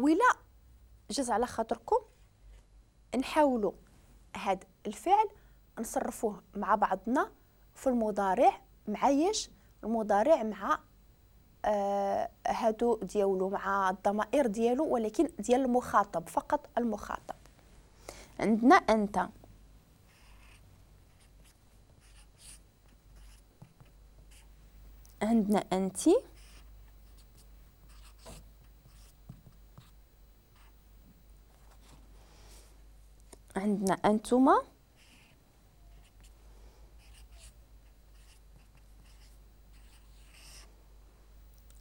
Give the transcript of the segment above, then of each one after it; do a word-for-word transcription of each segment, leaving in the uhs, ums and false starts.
ولا جات على خاطركم نحاولوا هاد الفعل نصرفوه مع بعضنا في المضارع، مع ياش المضارع مع آه هادو ديالو، مع الضمائر ديالو، ولكن ديال المخاطب فقط. المخاطب عندنا أنت، عندنا أنتي، عندنا أنتما،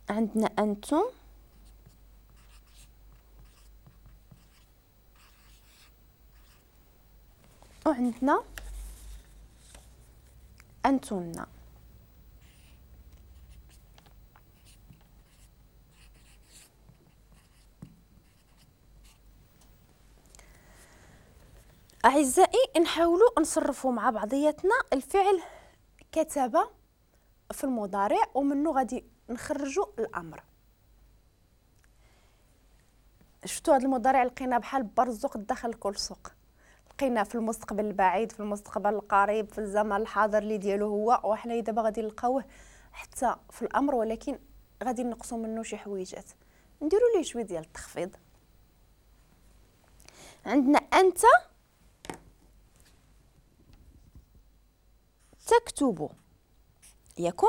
عندنا أنتم، وعندنا أنتن. أعزائي نحاولوا نصرفوا مع بعضياتنا الفعل كتب في المضارع، ومنه غادي نخرجوا الأمر. شفتوا هذا المضارع لقينا بحال برزق داخل كل سوق، لقينا في المستقبل البعيد، في المستقبل القريب، في الزمن الحاضر اللي ديالو هو، وحنا دابا غادي نلقاوه حتى في الأمر، ولكن غادي نقصوا منه شي حويجات، نديروا ليه شوية ديال التخفيض. عندنا أنت تكتب، ياكم